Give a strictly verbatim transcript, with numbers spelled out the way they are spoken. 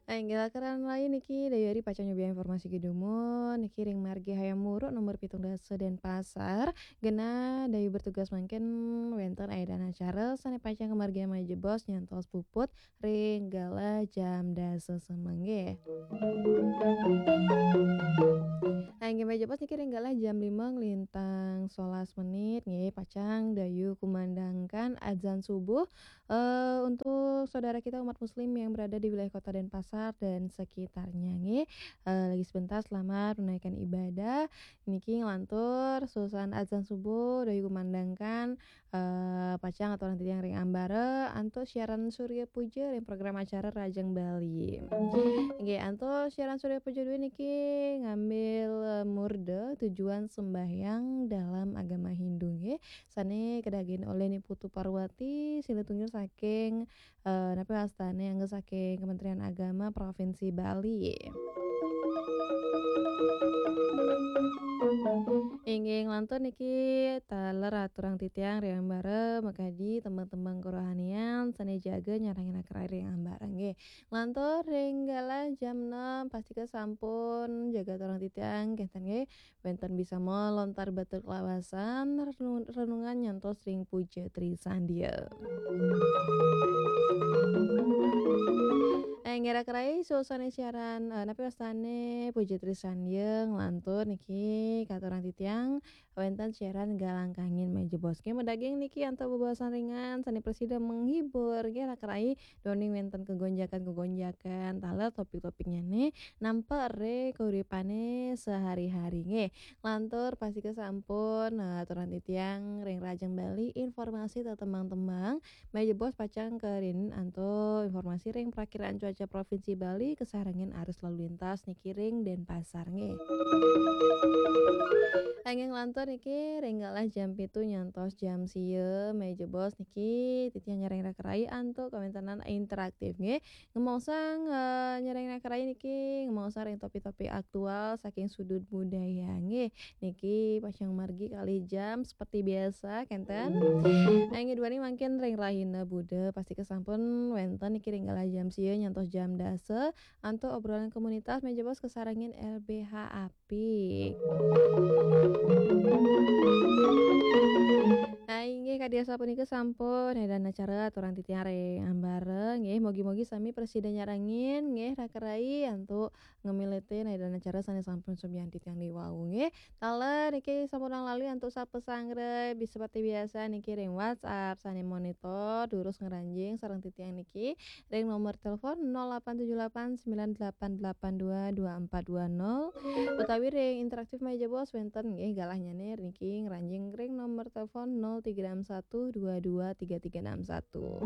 Inggih, lakar lain niki Dayu Ari pacang nyubiang informasi gé dumun niki ring margi Hayam Wuruk nomor pitung dasa Denpasar. Genah Dayu bertugas mangkin wénten aédan acara sané pacang kamargiang malih jebos nyantos puput ring galah jam dasa semeng nggih. Inggih, malih jebos niki ring galah jam lima nglintang solas menit nggih, pacang Dayu kumandangkan adzan subuh. Eh, untuk saudara kita umat muslim yang berada di wilayah Kota Denpasar dan sekitarnya nggih, eh, lagi sebentar selamat menunaikan ibadah. Niki nglantur susunan adzan subuh Dayu kumandangkan, eh, pacang aturang titiang ring ambara antuk siaran Surya Puja ring program acara Rahajeng Bali. Nggih, antuk siaran Surya Puja duwé niki ngambil, eh, murda tujuan sembahyang dalam agama Hindu nggih. Sané kadagingin olih Ni Putu Parwati, silih tunggil saking, eh, napi wastané, angga saking Kementerian Agama Provinsi Bali. Inggih, nglantur niki taler aturang titiang ring ambara makadi tembang-tembang kerohanian sané jaga nyarengin acara ring ambara nggih. Nglantur ring galah jam enam, pastika sampun jaga aturang titiang kénten nggih. Wénten bisama lontar batur kalawasan, renu-, renungan nyantos ring Puja Trisandia. Eh, ngirak rai susunan siaran, eh, napi wastané Puja Trisandia nglantur niki katurang titiang wénten siaran Galang Kangin malih jebos. Nggih, madaging niki antuk bebaosan ringan sané prasida menghibur nggih, lakar rai duaning wénten kegonjakan-kegonjakan taler topik-topiknyané nampek ring kauripané sehari-hari nggih. Lantur pastika sampun, eh, aturang titiang ring Rahajeng Bali informasi tetembang-tembang. Malih jebos pacang karinin antuk informasi ring Prakiraan Cuaca Provinsi Bali kasarengin arus lalu lintas niki ring Denpasar nggih. Inggih, nglantur niki ring galah jam pitu nyantos jam sia, malih jebos niki titiang nyarengin acara rai antuk kawéntenan interaktif nggih. Ngemaosang, eh, nyarengin acara rai niki ngemaosang ring topik-topik aktual saking sudut budaya nggih. Niki pacang margi kalih jam seperti biasa kénten. Inggih, duaning mangkin ring rahina Buda pastika sampun wénten niki ring galah jam sia nyantos jam dasa antuk obrolan komunitas malih jebos kasarengin L B H A P. Nah, inggih, kadi asapunika sampun aédan acara aturang titiang ring ambara nggih. Mugi-mugi sami prasida nyarengin nggih, raka rai antuk ngamilitang aédan acara sané sampun sumian titiang diwau nggih. Taler niki sampun lali antuk sapa sanggra, bisa seperti biasa niki ring WhatsApp sané monitor durus ngranjing sareng titiang niki ring nomor telepon nol delapan tujuh delapan sembilan delapan delapan dua dua empat dua nol, utawi ring interaktif malih jebos wénten nggih galahnyané niki ngranjing ring nomor telepon nol tiga enam satu dua dua tiga tiga enam satu.